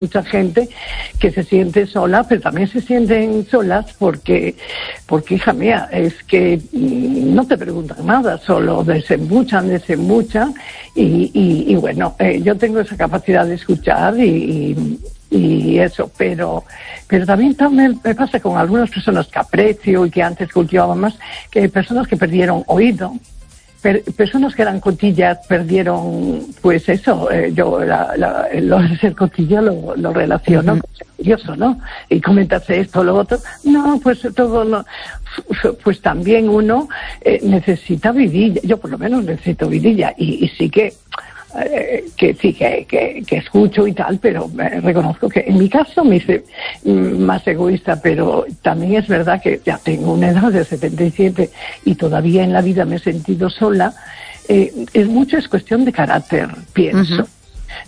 mucha gente que se siente sola, pero también se sienten solas porque hija mía, es que no te preguntan nada, solo desembuchan y bueno, yo tengo esa capacidad de escuchar y eso, pero también me pasa con algunas personas que aprecio y que antes cultivaban más, que hay personas que perdieron oído. Personas que eran cotillas perdieron, pues eso, yo lo de ser cotilla lo relaciono con ser curioso, ¿no? Y comentarse esto, lo otro. No, pues todo pues también uno necesita vidilla. Yo por lo menos necesito vidilla y sí que escucho y tal, pero reconozco que en mi caso me hice más egoísta, pero también es verdad que ya tengo una edad de 77 y todavía en la vida me he sentido sola. Es cuestión de carácter, pienso.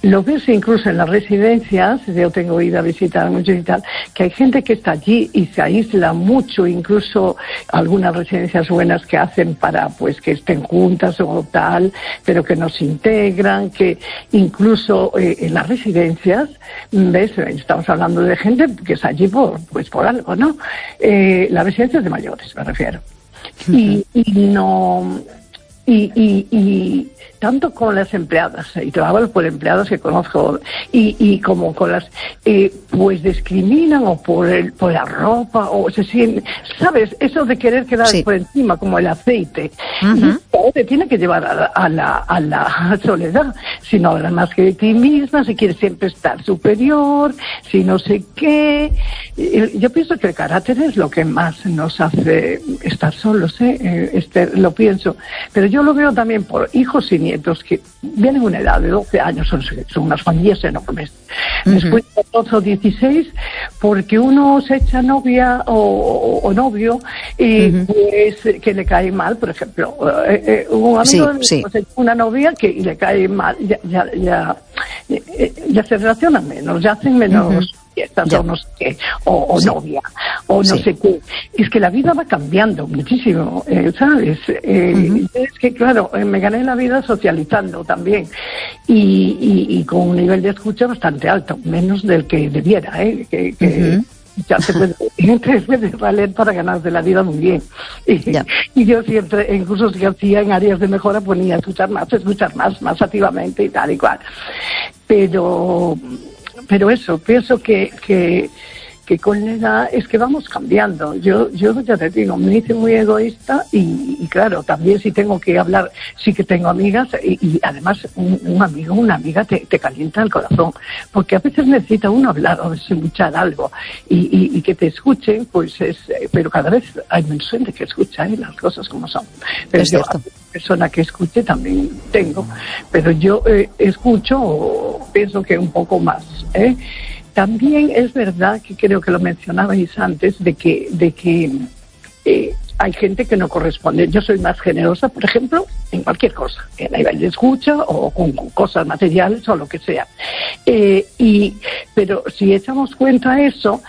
Lo ves incluso en las residencias, yo tengo ido a visitar mucho y tal, que hay gente que está allí y se aísla mucho, incluso algunas residencias buenas que hacen para pues que estén juntas o tal, pero que no se integran, que incluso en las residencias, ves, estamos hablando de gente que está allí por algo, ¿no? Las residencias de mayores, me refiero. Y tanto con las empleadas, y trabajo por empleadas que conozco, y como con las, pues discriminan o por la ropa, o se sienten, ¿sabes? Eso de querer quedar por encima, como el aceite, y te tiene que llevar a la soledad, si no hablas más que de ti misma, si quieres siempre estar superior, si no sé qué. Yo pienso que el carácter es lo que más nos hace estar solos, lo pienso, pero yo lo veo también por hijos y nietos que vienen a una edad de 12 años, son unas familias enormes. Después de 12 o 16, porque uno se echa novia o novio y pues que le cae mal, por ejemplo, un amigo pues, una novia que le cae mal, ya se relacionan menos, ya hacen menos fiestas o no sé qué, o novia, o no sé qué. Es que la vida va cambiando muchísimo, ¿sabes? Es que, claro, me gané la vida socializando también y con un nivel de escucha bastante alto, menos del que debiera, ya se puede valer para ganarse la vida muy bien. Y yo siempre, en cursos que hacía en áreas de mejora, ponía escuchar más activamente y tal y cual. Pero eso, pienso que con la edad es que vamos cambiando. Yo ya te digo, me hice muy egoísta y claro, también si tengo que hablar, sí que tengo amigas y además un amigo, una amiga te calienta el corazón, porque a veces necesita uno hablar o escuchar algo y que te escuchen, pues pero cada vez hay menos gente que escucha las cosas como son. Pero yo, persona que escuche también tengo, pero yo escucho, pienso que un poco más, También es verdad que creo que lo mencionabais antes de que hay gente que no corresponde. Yo soy más generosa, por ejemplo, en cualquier cosa, en nivel de escucha o con cosas materiales o lo que sea. Pero si echamos cuenta a eso,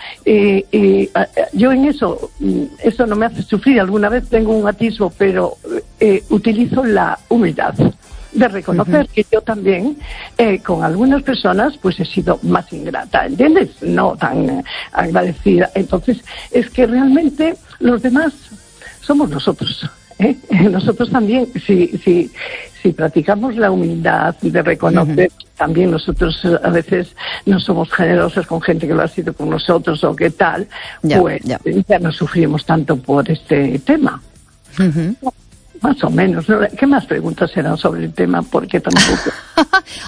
yo en eso no me hace sufrir. Alguna vez tengo un atisbo, pero utilizo la humildad de reconocer que yo también con algunas personas pues he sido más ingrata, ¿entiendes? No tan agradecida. Entonces es que realmente los demás somos nosotros, nosotros también, si practicamos la humildad de reconocer, también nosotros a veces no somos generosos con gente que lo ha sido con nosotros o qué tal, pues ya no sufrimos tanto por este tema. Más o menos. ¿Qué más preguntas serán sobre el tema? Porque tampoco...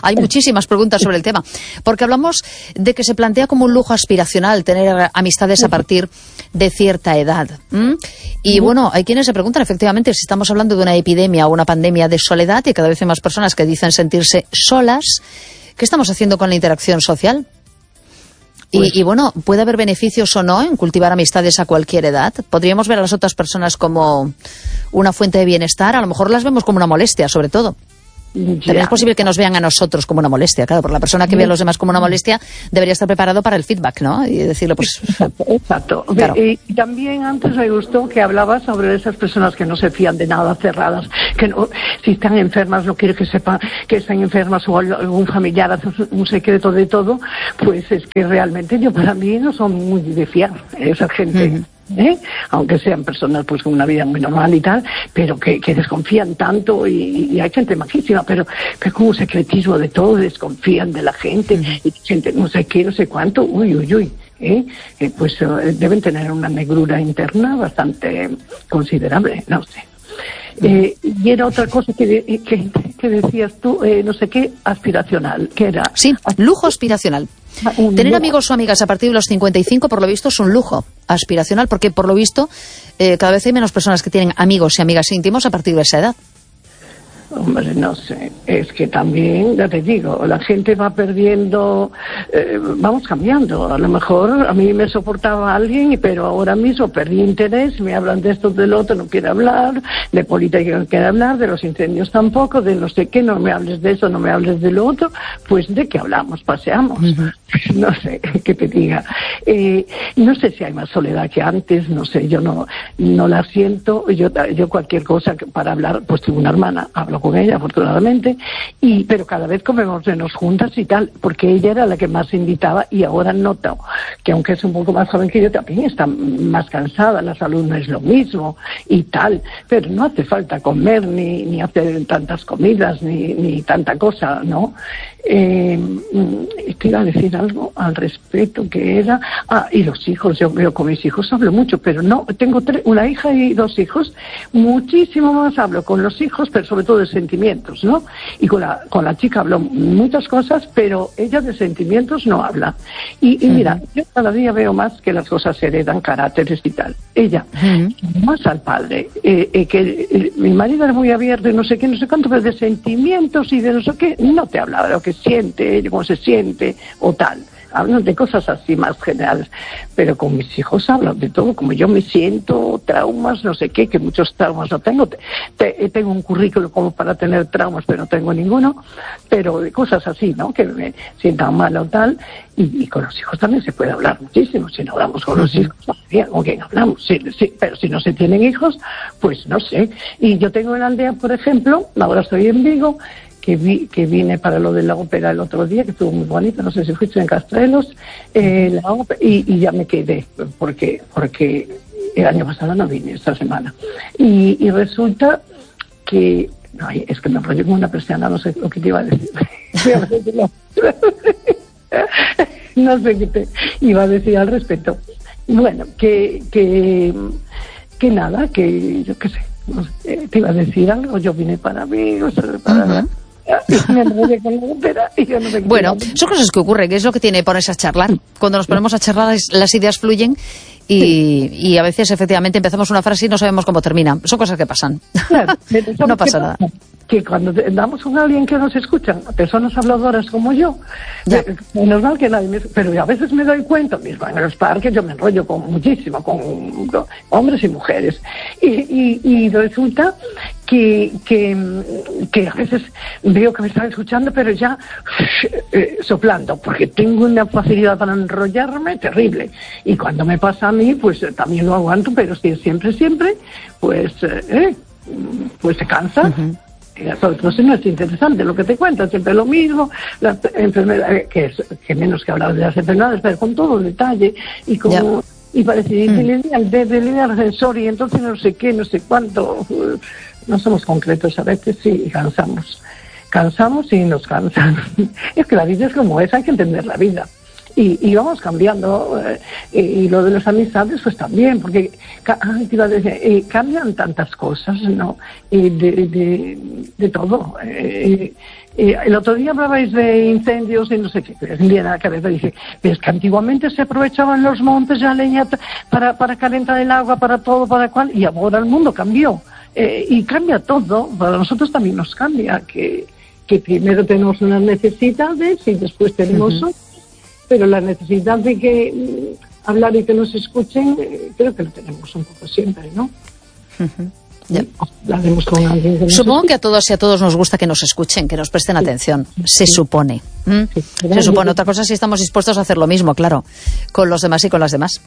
Hay muchísimas preguntas sobre el tema. Porque hablamos de que se plantea como un lujo aspiracional tener amistades a partir de cierta edad. Y bueno, hay quienes se preguntan efectivamente si estamos hablando de una epidemia o una pandemia de soledad y cada vez hay más personas que dicen sentirse solas. ¿Qué estamos haciendo con la interacción social? Y bueno, ¿puede haber beneficios o no en cultivar amistades a cualquier edad? ¿Podríamos ver a las otras personas como una fuente de bienestar? A lo mejor las vemos como una molestia, sobre todo. También es posible que nos vean a nosotros como una molestia, claro, porque la persona que ve a los demás como una molestia debería estar preparado para el feedback, ¿no? Y decirle, pues... Exacto. Claro. Y también antes me gustó que hablabas sobre esas personas que no se fían de nada, cerradas, que no, si están enfermas no quiere que sepan que están enfermas o algún familiar hace un secreto de todo, pues es que realmente para mí no son muy de fiar esa gente. Aunque sean personas pues con una vida muy normal y tal, pero que desconfían tanto y hay gente majísima, pero como un secretismo de todo, desconfían de la gente y gente no sé qué, no sé cuánto, pues deben tener una negrura interna bastante considerable, no sé. Y era otra cosa que decías tú, no sé qué, aspiracional, que era... Sí, lujo aspiracional. Tener amigos o amigas a partir de los 55, por lo visto, es un lujo aspiracional, porque por lo visto cada vez hay menos personas que tienen amigos y amigas íntimos a partir de esa edad. Hombre, no sé, es que también, ya te digo, la gente va perdiendo, vamos cambiando. A lo mejor a mí me soportaba alguien, pero ahora mismo perdí interés, me hablan de esto, del otro, no quiero hablar, de política no quiero hablar, de los incendios tampoco, de no sé qué, no me hables de eso, no me hables de lo otro, pues ¿de qué hablamos? Paseamos. No sé, qué te diga. No sé si hay más soledad que antes, no sé, yo no la siento, yo cualquier cosa para hablar, pues tengo una hermana, hablo con ella afortunadamente, pero cada vez comemos menos juntas y tal, porque ella era la que más invitaba y ahora noto que aunque es un poco más joven que yo, también está más cansada, la salud no es lo mismo y tal, pero no hace falta comer ni hacer tantas comidas ni tanta cosa, ¿no? Te iba a decir algo al respecto que era... y los hijos, yo veo con mis hijos hablo mucho, pero no, tengo una hija y 2 hijos, muchísimo más hablo con los hijos, pero sobre todo de sentimientos, ¿no? Y con la chica hablo muchas cosas, pero ella de sentimientos no habla. Y mira, yo cada día veo más que las cosas se heredan, caracteres y tal. Ella, más al padre, mi marido era muy abierto y no sé qué, no sé cuánto, pero de sentimientos y de no sé qué, no te hablaba de lo que siente, cómo se siente o tal. Hablan de cosas así más generales, pero con mis hijos hablan de todo, como yo me siento, traumas, no sé qué, que muchos traumas no tengo. Tengo un currículo como para tener traumas, pero no tengo ninguno, pero de cosas así, ¿no? Que me sientan mal o tal, y con los hijos también se puede hablar muchísimo. Si no hablamos con los hijos, ¿con quién hablamos? Sí, pero si no se tienen hijos, pues no sé. Y yo tengo en la aldea, por ejemplo, ahora estoy en Vigo, que vine para lo de la ópera el otro día, que estuvo muy bonito, no sé si fuiste en Castrelos, la ópera, y ya me quedé, porque el año pasado no vine, esta semana. Y resulta que, no, es que me enrollé como una persiana, no sé lo que te iba a decir. No sé qué te iba a decir al respecto. Bueno, que nada, que yo qué sé, no sé, te iba a decir algo, yo vine para mí, o sea, para... Bueno, son cosas que ocurren, que es lo que tiene ponerse a charlar. Cuando nos ponemos a charlar las ideas fluyen y a veces efectivamente empezamos una frase y no sabemos cómo termina. Son cosas que pasan. Claro, no pasa nada. Que cuando andamos con alguien que nos escucha, personas habladoras como yo, menos mal que nadie pero a veces me doy cuenta, mismo en los parques yo me enrollo muchísimo con hombres y mujeres y resulta que a veces veo que me están escuchando, pero ya soplando, porque tengo una facilidad para enrollarme terrible, y cuando me pasa a mí, pues también lo aguanto, pero si es siempre, pues se cansa. Entonces no es interesante lo que te cuentan, siempre lo mismo, las enfermedades, que menos que hablar de las enfermedades, pero con todo detalle y como y parece el del ascensor y entonces no sé qué, no sé cuánto, no somos concretos a veces, sí, cansamos y nos cansan. Es que la vida es como es, hay que entender la vida. Y vamos cambiando, y lo de las amistades pues también, porque te iba a decir, cambian tantas cosas, ¿no? De todo. El otro día hablabais de incendios y no sé qué, pero la cabeza dice, pero es que antiguamente se aprovechaban los montes, la leña para calentar el agua, para todo, para cual, y ahora el mundo cambió. Y cambia todo, para nosotros también nos cambia, que primero tenemos unas necesidades y después tenemos otras. Pero la necesidad de que hablar y que nos escuchen, creo que lo tenemos un poco siempre, ¿no? La haremos con alguien que Supongo que a todos y a todos nos gusta que nos escuchen, que nos presten atención. Se supone. Se supone. Otra cosa es si estamos dispuestos a hacer lo mismo, claro, con los demás y con las demás.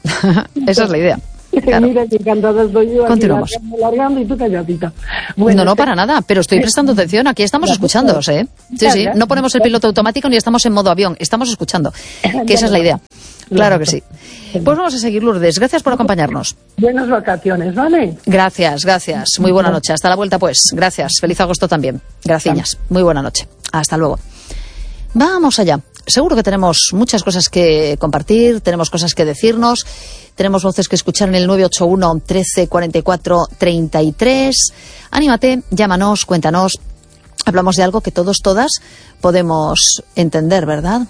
Esa es la idea. Claro. Mira, que encantada estoy yo. Continuamos. Largando y tú calladita. Bueno, no, para nada, pero estoy prestando atención. Aquí estamos escuchándoos, ¿eh? Sí. No ponemos el piloto automático ni estamos en modo avión. Estamos escuchando. Que esa es la idea. Claro que sí. Pues vamos a seguir, Lourdes. Gracias por acompañarnos. Buenas vacaciones, ¿vale? Gracias. Muy buena noche. Hasta la vuelta, pues. Gracias. Feliz agosto también. Gracias. Muy buena noche. Hasta luego. Vamos allá. Seguro que tenemos muchas cosas que compartir, tenemos cosas que decirnos, tenemos voces que escuchar en el 981 13 44 33. Anímate, llámanos, cuéntanos. Hablamos de algo que todos, todas podemos entender, ¿verdad?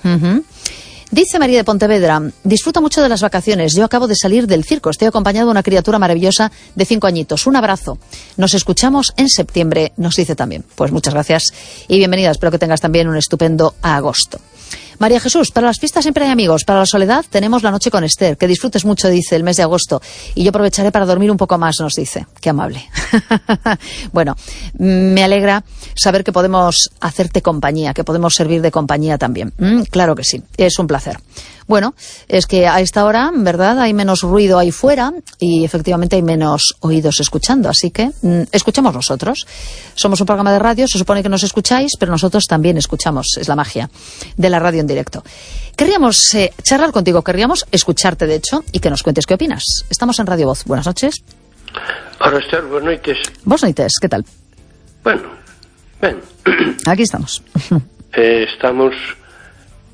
Dice María de Pontevedra: disfruto mucho de las vacaciones. Yo acabo de salir del circo. Estoy acompañado de una criatura maravillosa de 5 añitos. Un abrazo. Nos escuchamos en septiembre, nos dice también. Pues muchas gracias y bienvenida. Espero que tengas también un estupendo agosto. María Jesús: para las fiestas siempre hay amigos. Para la soledad tenemos la noche con Esther. Que disfrutes mucho, dice, el mes de agosto. Y yo aprovecharé para dormir un poco más, nos dice. Qué amable. Bueno, me alegra saber que podemos hacerte compañía, que podemos servir de compañía también. Claro que sí, es un placer. Bueno, es que a esta hora, ¿verdad?, hay menos ruido ahí fuera y efectivamente hay menos oídos escuchando. Así que escuchamos nosotros. Somos un programa de radio, se supone que nos escucháis, pero nosotros también escuchamos. Es la magia de la radio en directo. Querríamos charlar contigo, querríamos escucharte, de hecho, y que nos cuentes qué opinas. Estamos en Radio Voz. Buenas noches. Hola, Esther, buenas noites. Buenas noites, ¿qué tal? Bueno, ben. Aquí estamos. Estamos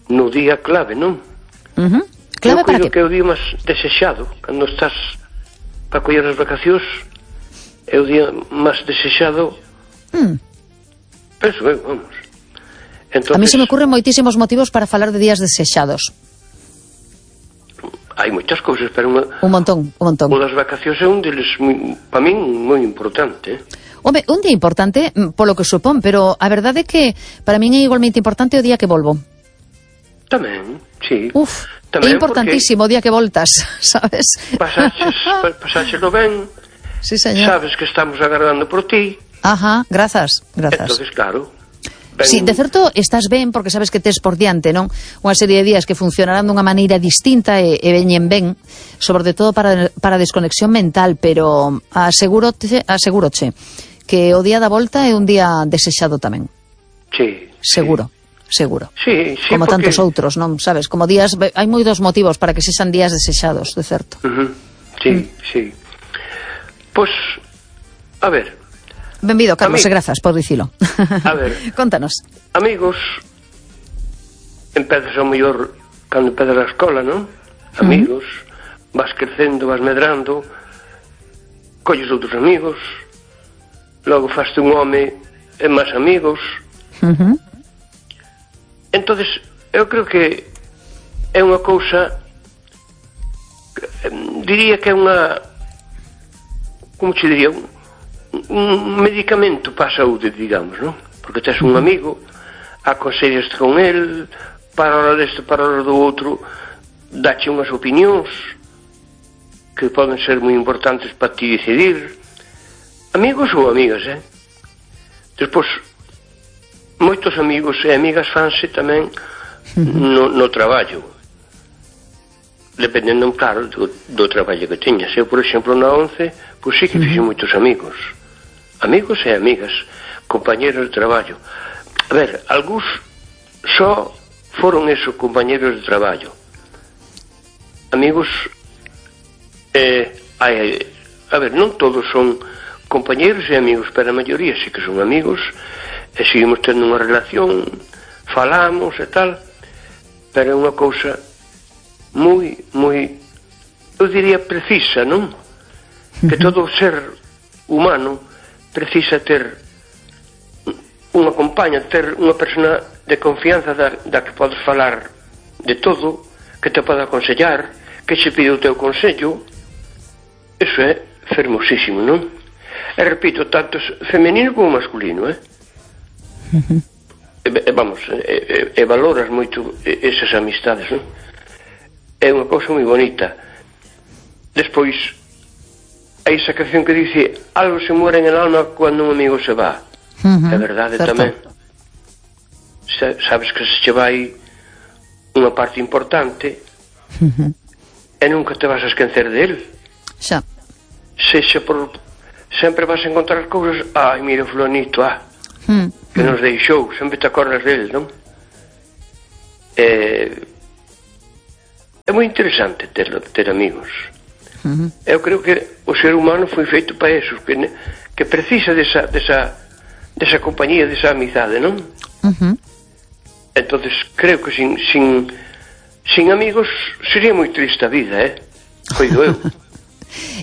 no día clave, non? Clave para que? Que é o día máis desexado cando estás para coller as vacacións. É o día máis desexado. Penso, vamos. Entonces, a mí se me ocurren moitísimos motivos para falar de días desexados. Hai moitas cousas, pero un montón. O das vacacións é un deles, para min, moi importante. Home, un día importante, polo que supón, pero a verdade é que para min é igualmente importante o día que volvo. Tamén, sí. É importantísimo o día que voltas, sabes? Pasáchelo ben. Sí, señor. Sabes que estamos agardando por ti. Ajá, grazas. Entonces, claro. Sí, de certo estás ben porque sabes que tes por diante, non? Unha serie de días que funcionarán dunha maneira distinta e veñen ben, sobre todo para desconexión mental, pero asegúroche que o día da volta é un día desexado tamén. Sí. Seguro. Sí, como porque... tantos outros, non sabes? Como días, hai moitos motivos para que sexan días desexados, de certo. Sí. Pois, a ver. Benvido, Carlos, e grazas por dicilo. A ver. Contanos. Amigos, empezas ao mellor cando empezas a escola, non? Amigos, vas crecendo, vas medrando, colles outros amigos, logo faste un home e máis amigos. Entonces, eu creo que é unha cousa, diría que é unha, como che diría, un medicamento para a saúde, digamos, non? Porque tes un amigo, aconsellaste con el, para a hora deste, para a hora do outro, dache unhas opinións que poden ser moi importantes para ti decidir. Amigos ou amigas, Despois, moitos amigos e amigas fanse tamén no traballo, dependendo, claro, do traballo que teñas. Eu, por exemplo, na 11, pois sí que fixe moitos amigos e amigas, compañeros de traballo. A ver, algúns só foron esos compañeros de traballo. Amigos, a ver, non todos son compañeros e amigos, pero a maioría sí que son amigos, e seguimos tendo unha relación, falamos e tal, pero é unha cousa moi, eu diría precisa, non? Que todo ser humano precisa ter unha compaña, ter unha persona de confianza da que podes falar de todo, que te pode aconsellar, que che pide o teu consello. Eso é fermosísimo, non? E repito, tanto femenino como masculino, vamos, valoras moito esas amistades, non? É unha cousa moi bonita. Despois, hai esa canción que dice algo se muere en el alma cuando un amigo se va. É verdade tamén. Sabes que se che vai unha parte importante e nunca te vas a esquecer dele. Xa. Sexa por... sempre vas a encontrar cousas. Ai, mira, fulanito, que nos deixou, sempre te acordas dele, non? É moi interesante ter amigos. Eu creo que o ser humano foi feito para eso, que precisa desa compañía, desa amizade, non? Entonces creo que sin amigos sería moi triste a vida, coido eu.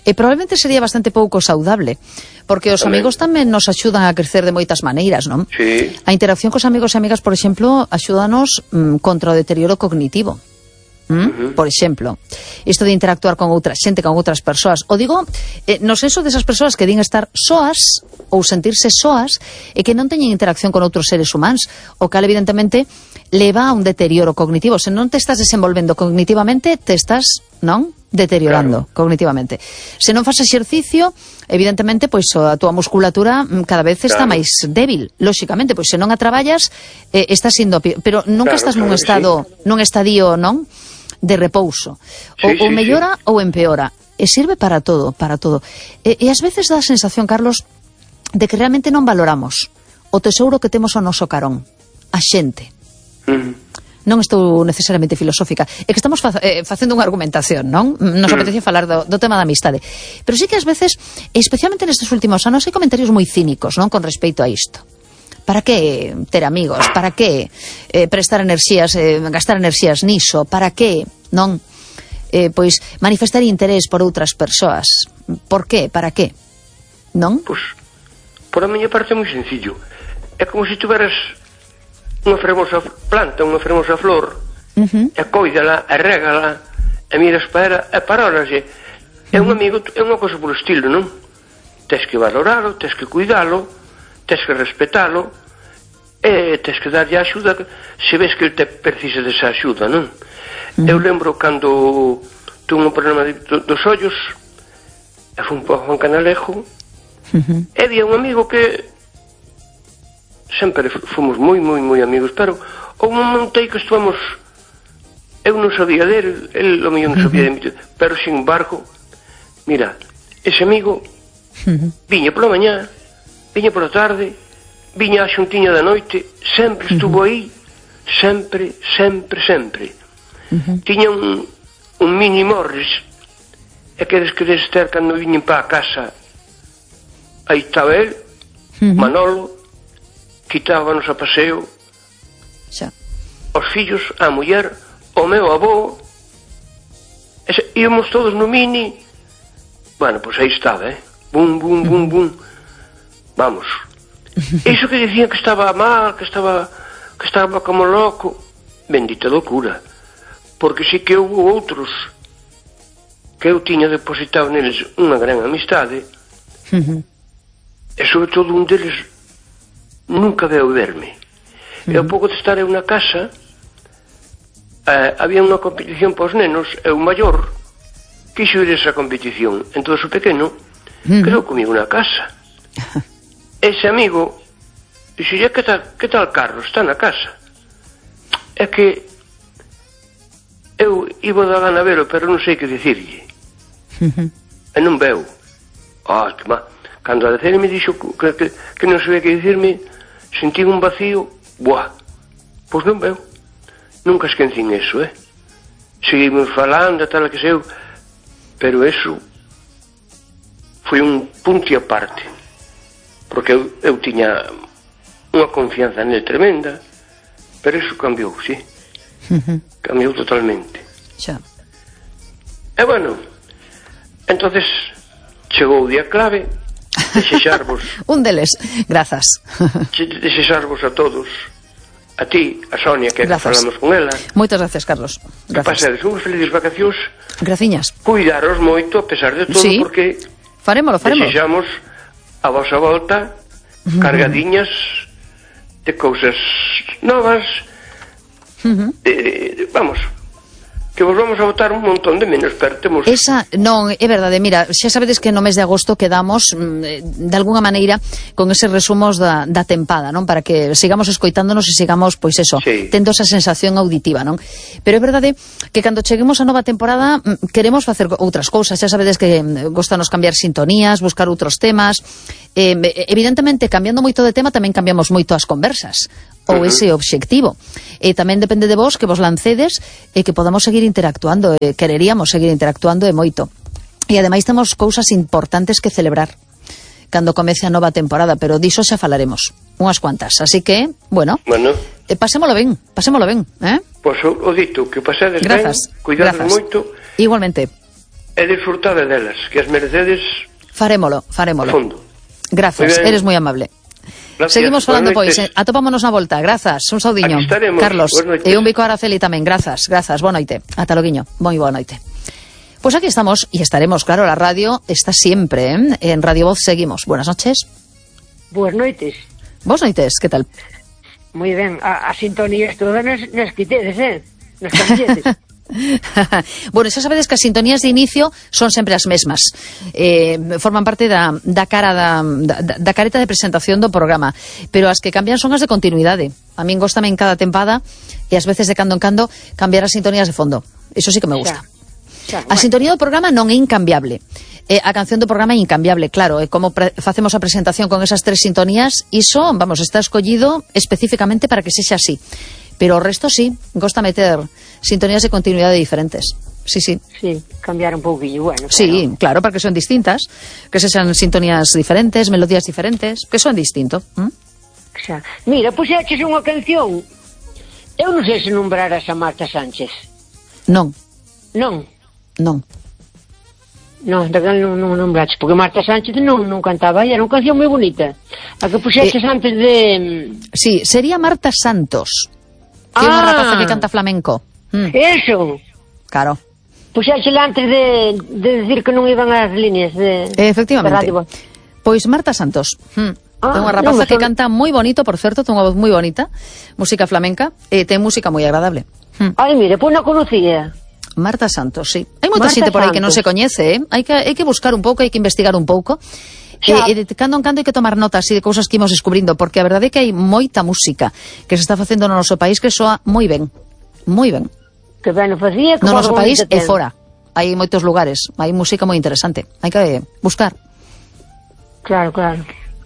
E probablemente sería bastante pouco saudable, porque os amigos tamén nos axudan a crecer de moitas maneiras, non? Sí. A interacción cos amigos e amigas, por exemplo, axúdanos contra o deterioro cognitivo. Por exemplo, isto de interactuar con outra xente, con outras persoas. O digo, no senso desas persoas que din estar soas ou sentirse soas e que non teñen interacción con outros seres humanos, o cal evidentemente leva a un deterioro cognitivo. Se non te estás desenvolvendo cognitivamente, te estás, non? Deteriorando cognitivamente. Se non fas exercicio, evidentemente, pois a túa musculatura cada vez está máis débil. Lóxicamente, pois se non a traballas, estás indo pero nunca estás nun estado, nun estadio, non? De repouso. Ou mellora ou empeora. E sirve para todo, para todo. E ás veces dá a sensación, Carlos, de que realmente non valoramos o tesouro que temos ao noso carón, a xente. Non estou necesariamente filosófica, é que estamos facendo unha argumentación, non? Nos apetece falar do tema da amistade. Pero sí que ás veces, especialmente nestes últimos anos, hai comentarios moi cínicos, non? Con respecto a isto. Para que ter amigos? Para que prestar enerxías, gastar enerxías niso? Para que, non? Pois manifestar interés por outras persoas. Por que? Para que? Non? Pois, por a miña parte é moi sencillo. É como se tuveras unha fermosa planta, unha fermosa flor, e coídala, e régala, e miras para ela, e parólaxe. É un amigo, é unha cosa polo estilo, non? Tens que valoralo, tens que cuidalo, tens que respetalo, e tens que darlle axuda se ves que ele te precisa desa axuda, non? Eu lembro cando tuve un problema dos ollos, e fui un pouco a un Canalejo, e había un amigo que sempre fomos moi amigos, pero houve un momento aí que estuvamos, eu non sabía dele, ele o mellor non sabía de mí, pero sin embargo, mira, ese amigo viña pola mañá, viña pola tarde, viña a xuntiña da noite, sempre estuvo aí, sempre. Tiña un mini Morris, e queres ter cando viñen para a casa, aí estaba ele, Manolo, quitábanos a paseo, os fillos, a muller, o meu avó, íamos todos no mini. Bueno, pois aí estaba, bum, vamos. Iso que dicían que estaba mal, que estaba como loco, bendita loucura, porque sí que houve outros que eu tiña depositado neles unha gran amistade, e sobre todo un deles nunca veu verme. E ao pouco de estar eu na casa, había unha competición para os nenos, e o maior quixo ir a esa competición. Entón o pequeno quedou comigo na casa. Ese amigo dixo, que tal Carlos, está na casa? É que eu iba da gana velo, pero non sei que dicirlle. E non veu. Que má. Cando a decerme dixo que non sabía que dicirme, sentí un vacío, pois non veu. Nunca esquecín eso, Seguimos falando, tal que sei, pero eso foi un punto e aparte, porque eu tiña unha confianza nele tremenda, pero eso cambiou, sí. Cambiou totalmente. Xa. E bueno, entonces chegou o día clave, desexarvos un deles, grazas. Desexarvos a todos, a ti, a Sonia, que falamos con ela. Moitas gracias, Carlos. Que pasedes unhas felices vacacións. Graciñas. Cuidaros moito a pesar de todo, porque farémolo. Desexamos a vosa volta cargadiñas de cousas novas, vamos, que vos vamos a botar un montón de menos, pero temos... Esa, non, é verdade, mira, xa sabedes que no mes de agosto quedamos de alguna maneira con eses resumos da tempada, non? Para que sigamos escoitándonos e sigamos, pois eso, sí, tendo esa sensación auditiva, non? Pero é verdade que cando cheguemos a nova temporada queremos facer outras cousas, xa sabedes que gostanos cambiar sintonías, buscar outros temas, evidentemente cambiando moito de tema tamén cambiamos moito as conversas, ou ese obxectivo. E tamén depende de vos que vos lancedes e que podamos seguir interactuando, quereríamos seguir interactuando e moito. E ademais temos cousas importantes que celebrar cando comece a nova temporada, pero diso xa falaremos unhas cuantas, así que, bueno, pasémolo ben, Pois o dito, que pasedes ben, cuidades moito, igualmente, e disfrutade delas, que as merecedes. Farémolo. Fondo. Grazas, eres moi amable. Gracias. Seguimos falando, pois, atopámonos na volta. Grazas, un saudiño, Carlos, e un bico a Araceli tamén. Grazas, boa noite. Ata loguiño, moi boa noite. Pois aquí estamos, e estaremos, claro, la radio está siempre, en Radio Voz seguimos. Buenas noches. Buenas noites. Boas noites, que tal? Moi ben, a sintonía todas nas quitedes, nas camisetes. Bueno, xa sabedes que as sintonías de inicio son sempre as mesmas, forman parte da careta de presentación do programa, pero as que cambian son as de continuidade. A min góstame en cada tempada e ás veces de cando en cando cambiar as sintonías de fondo, iso sí que me gusta. A sintonía do programa non é incambiable, a canción do programa é incambiable, claro, e como facemos a presentación con esas tres sintonías, iso, vamos, está escollido especificamente para que sexa así. Pero o resto sí, gosta meter sintonías de continuidade diferentes. Sí. Sí, cambiar un pouquinho, bueno. Sí, claro, para que son distintas, que se sean sintonías diferentes, melodías diferentes, que son distinto. Xa. Mira, puxeches unha canción. Eu non sei se nombraras a Marta Sánchez. Non. Daquela non nombraches, porque Marta Sánchez non cantaba, era unha canción moi bonita. A que puxeches antes de... Sí, sería Marta Santos, que é unha rapaza que canta flamenco. Eso. Claro. Puxéchela antes de decir que non iban as líneas de... Efectivamente. De pois Marta Santos. É unha rapaza que canta moi bonito, por certo, ten unha voz moi bonita, música flamenca, e ten música moi agradable. Ai, mire, pois non conocía. Marta Santos, sí. Hai moita xente por aí que non se coñece, hai que buscar un pouco, hai que investigar un pouco. E de cando en cando hai que tomar notas de cousas que imos descubrindo, porque a verdade é que hai moita música que se está facendo no noso país que soa moi ben. Que ben o facía, no noso país e fora. Hai moitos lugares, hai música moi interesante. Hai que buscar. Claro.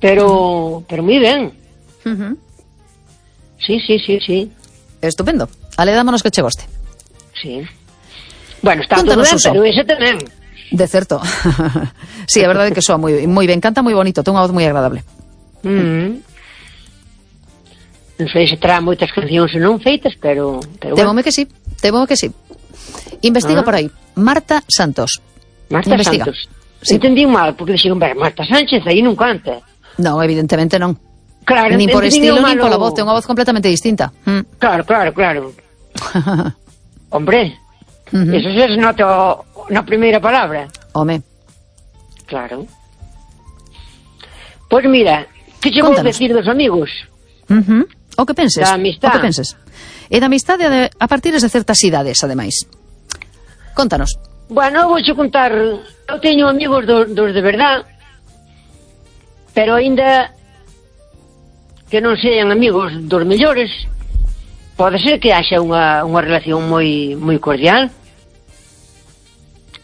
Pero moi ben. Sí. Estupendo. Ale, dámonos que che goste. Sí. Bueno, está todo ben, pero ese tamén. De certo. Sí, a verdade é que soa moi ben, canta moi bonito, ten unha voz moi agradable. Non sei se terá moitas cancións non feitas, pero Temome que sí. Investiga por aí. Marta Santos. Santos. Sí. Entendí mal, porque dixeron, Marta Sánchez aí non canta. Non, evidentemente non. Claro, nin por estilo, nin pola voz, ten unha voz completamente distinta. Claro. Hombre, eso se nota na primeira palabra. Home. Claro. Pois mira, que che vou decir dos amigos? O que penses? Da amistad. O que penses? E da amistade a partir de certas idades, ademais. Contanos. Bueno, vou che contar. Eu teño amigos dos de verdad, pero aínda que non sean amigos dos mellores, pode ser que haxa unha relación moi cordial,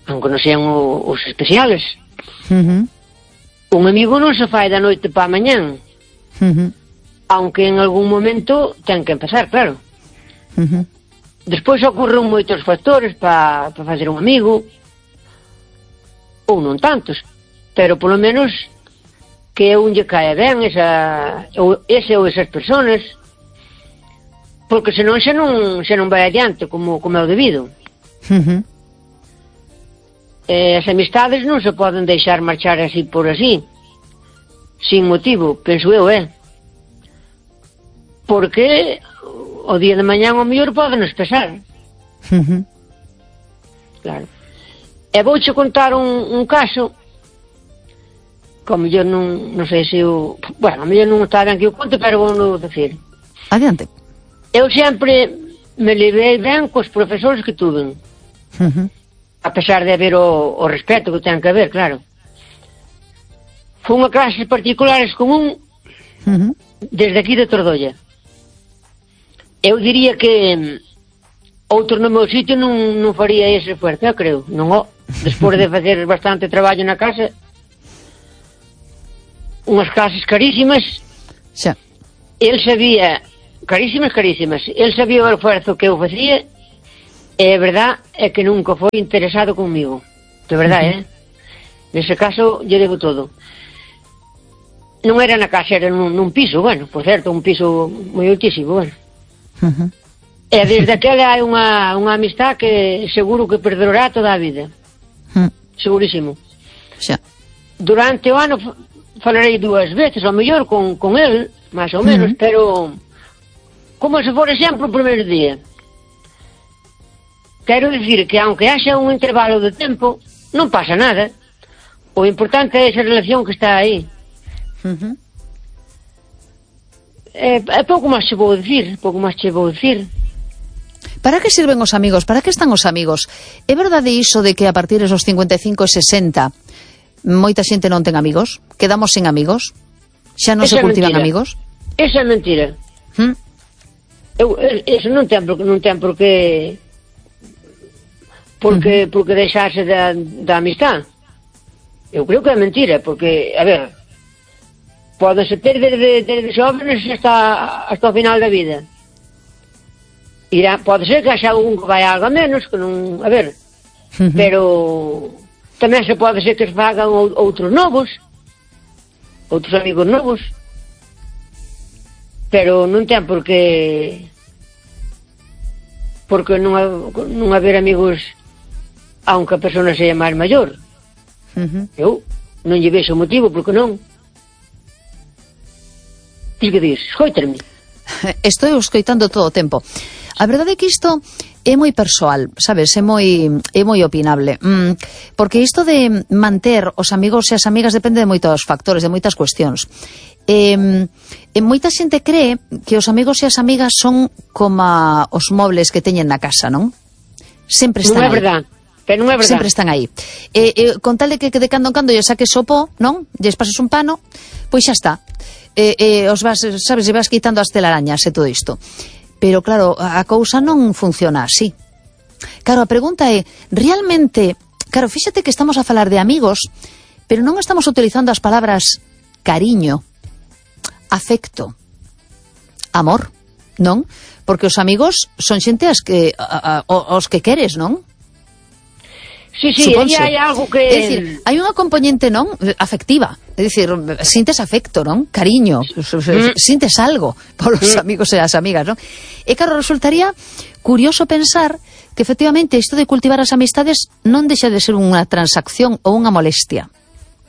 aunque non sean os especiales. Un amigo non se fai da noite pa mañán, aunque en algún momento ten que empezar, claro. Despois ocorren moitos factores para facer un amigo, ou non tantos, pero polo menos que un lle cae ben ese ou esas personas, porque senón xa non vai adiante como é o debido. As amistades non se poden deixar marchar así por así, sin motivo, penso eu, porque o día de mañán o mellor podenos pesar. Claro. E vouche contar un caso que o mellor non sei se o... Bueno, o mellor non está ben que o conte, pero vou non decir. Adiante. Eu sempre me levei ben cos profesores que tuven. A pesar de haber o respeto que ten que haber, claro. Fun a clases particulares con un desde aquí de Tordolla. Eu diría que outro no meu sitio non faría ese esforzo, eu creo. Non, despois de facer bastante traballo na casa, unhas clases carísimas, xa. El sabía, carísimas, el sabía o esforzo que eu facía, e a verdad é que nunca foi interesado conmigo, de verdade, nese caso, lle debo todo. Non era na casa, era nun piso, bueno, por certo, un piso moi altísimo, bueno. E desde aquela hai unha amistad que seguro que perdurará toda a vida. Segurísimo. Xa. Durante o ano falarei 2 veces, ao mellor, con el, máis ou menos, pero como se for exemplo o primeiro día. Quero dicir que aunque haxa un intervalo de tempo, non pasa nada. O importante é esa relación que está aí. É pouco máis che vou dicir, Para que sirven os amigos? Para que están os amigos? É verdade iso de que a partir dos 55 e 60 moita xente non ten amigos? Quedamos sin amigos? Xa non se cultivan amigos? Esa é mentira. Eso non ten por que porque deixarse da amistad. Eu creo que é mentira, porque, a ver, pódense ter desde xóvenes hasta o final da vida. Pode ser que haxa algún que vai algo a menos, que non, a ver, pero tamén se pode ser que se fagan outros novos, outros amigos novos, pero non ten por que non haber amigos aunque a persona seja máis maior. Eu non lle vexo motivo, porque non. Ti que dis? Escoitarme. Estou escoitando todo o tempo. A verdade é que isto é moi persoal, sabes, é moi opinable. Porque isto de manter os amigos e as amigas depende de moitos factores, de moitas cuestións. Moita xente cree que os amigos e as amigas son como os mobles que teñen na casa, non? Sempre están aí. Non é verdad. Pero non é verdad. Sempre están aí. Con tal de que de cando en cando lle saques o pó, non? Lles pases un pano, pois xa está. Os vas, sabes, e vas quitando as telarañas e todo isto. Pero claro, a cousa non funciona así. Claro, a pregunta é, realmente, claro, fíxate que estamos a falar de amigos, pero non estamos utilizando as palabras cariño, afecto, amor, non? Porque os amigos son xente os que queres, non? Sí, hai algo que... É dicir, hai unha componente, non? Afectiva. É dicir, sintes afecto, non? Cariño. Sintes algo polos amigos e as amigas, non? E claro, resultaría curioso pensar que efectivamente isto de cultivar as amistades non deixa de ser unha transacción ou unha molestia.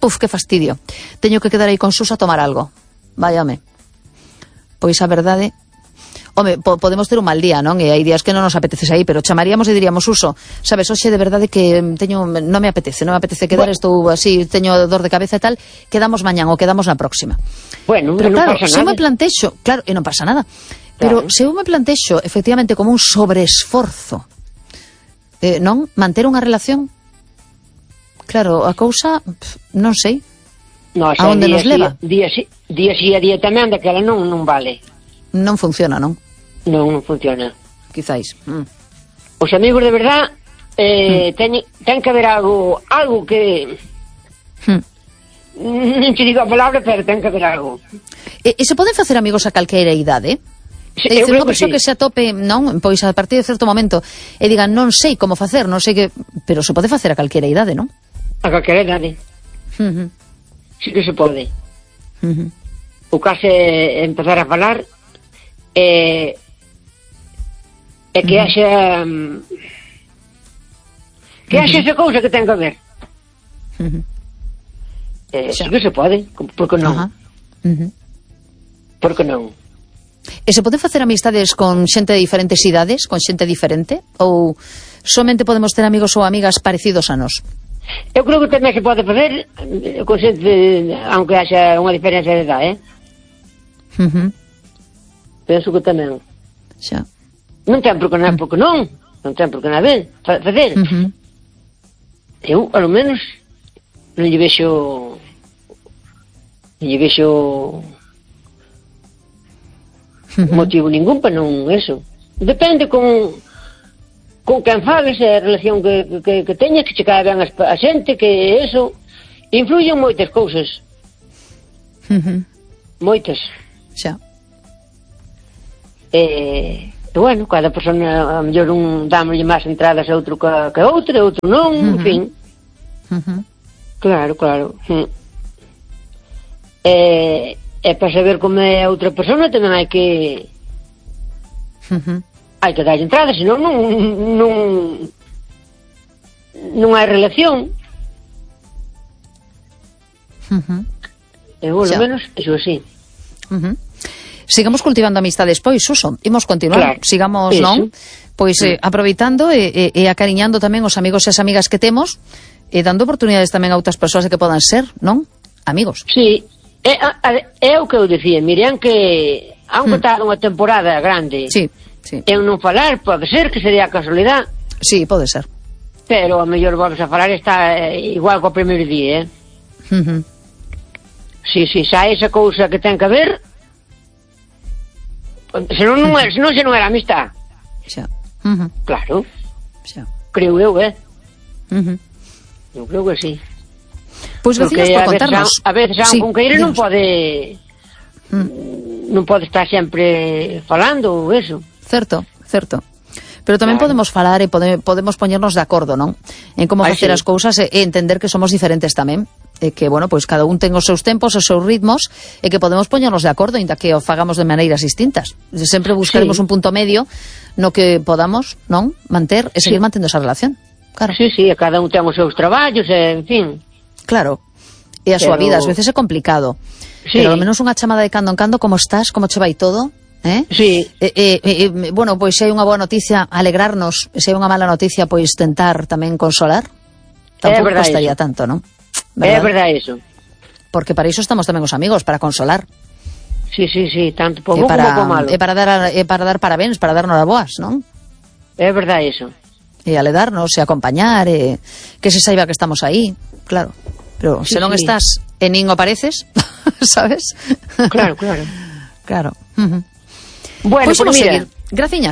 Puf, que fastidio. Teño que quedar aí con Sus a tomar algo. Váyame. Pois a verdade... Home, podemos ter un mal día, non? E hai días que non nos apetece aí, pero chamaríamos e diríamos, Suso, sabes, hoxe de verdade que non me apetece quedar, estou así, teño dor de cabeza e tal, quedamos mañán ou quedamos na próxima. Bueno, pero non claro, pasa nada. Se eu me plantexo, claro, e non pasa nada, pero se eu me plantexo efectivamente como un sobreesforzo, non? Manter unha relación, claro, a cousa, non sei, a onde nos leva. Día sí e día tamén, daquela non vale. Non funciona, non? Non funciona. Quizáis. Os amigos de verdad ten que haber algo que... Non te digo a palabra, pero ten que haber algo. E se poden facer amigos a calqueira idade? Sí, é dicir, unha persoa que se atope, non? Pois a partir de certo momento e digan, non sei como facer, non sei que... Pero se pode facer a calqueira idade, non? A calqueira idade. Sí que se pode. O caso é empezar a falar e que haxa esa cousa que ten que haber. Sí que se pode, por que non? Por que non? E se pode facer amistades con xente de diferentes idades, con xente diferente, ou somente podemos ter amigos ou amigas parecidos a nós? Eu creo que tamén se pode facer con xente, aunque haxa unha diferencia de edad, Penso que tamén. Xa. Non ten por que non, non ten por que nada facer. Eu, ao menos, non lle vexo motivo ningún para non eso. Depende con quen fales, a relación que teñas, que che cae ben a xente, que eso influyen moitas cousas. Moitas. Xa. Bueno, cada persona a mellor un dámoslle máis entradas a outro que a outra, a outro non, en fin. Claro. E para saber como é a outra persona tamén hai que darlle entrada, senón non hai relación. E polo menos iso así. Sigamos cultivando amistades, pois, Suso, imos continuar, sigamos, eso. Non? Pois aproveitando e acariñando tamén os amigos e as amigas que temos e dando oportunidades tamén a outras persoas que podan ser, non? Amigos. Sí. É o que eu dicía, Miriam, que aunque está unha temporada grande, eu non falar, pode ser que sería a casualidade. Sí, pode ser. Pero a mellor volves a falar está igual co primeiro día, Si, xa esa cousa que ten que haber, senón non era amistad. Xa. Claro. Xa. Creo eu, Eu creo que sí. Pois gracias por contarnos. A veces a un conqueiro non pode estar sempre falando ou eso. Certo. Pero tamén podemos falar e podemos poñernos de acordo, non? En como facer as cousas e entender que somos diferentes tamén. E que, bueno, pois cada un ten os seus tempos, os seus ritmos, e que podemos poñernos de acordo, inda que o fagamos de maneiras distintas. Sempre buscaremos un punto medio no que podamos, non? Manter e seguir mantendo esa relación. Claro. Sí, cada un ten os seus traballos, en fin. Claro, e a súa vida ás veces é complicado, pero ao menos unha chamada de cando en cando, como estás, como che vai todo, Sí. Bueno, pois se hai unha boa noticia, alegrarnos, se hai unha mala noticia, pois tentar tamén consolar, tampouco costaría tanto, non? É verdade iso. Porque para iso estamos tamén os amigos, para consolar. Sí, tanto por bo como por malo. E para dar parabéns, para dar noraboas, non? É verdade iso. E aledarnos, e acompañar, e que se saiba que estamos aí, claro. Pero se non estás e nin o pareces, sabes? Claro. Claro. Bueno, pois vamos seguir. Graciñas.